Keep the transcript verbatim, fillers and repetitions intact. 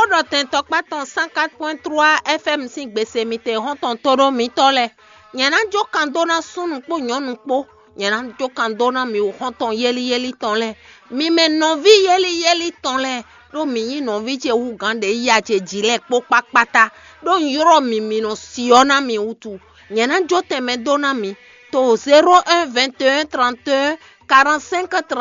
Xó ɖɔ tɛn tɔkpá tɔn cent quatre point trois F M sín gbese mitɛn xɔ́ntɔn tóɖó mitɔ́ lɛ́ɛ. Nyɛ ná jó kan dó ná súnnu kpó nyɔ̌nu kpó. Nyɛ ná jó kan dó ná mi xɔ́ntɔn yéli yéli tɔn lɛ́ɛ. Mi mɛ nɔví yéli yéli tɔn lɛ́ɛ, ɖó mǐ nyí nɔví ce hú gǎn ɖě yí a ce jǐ lɛ́ɛ kpó kpákpátá, ɖó un ylɔ́ mi mi nɔ syɔ́ ná mi wútu. Nyɛ ná jó tɛnmɛ dó ná mi to zéro un vingt et un trente et un quarante-cinq trente.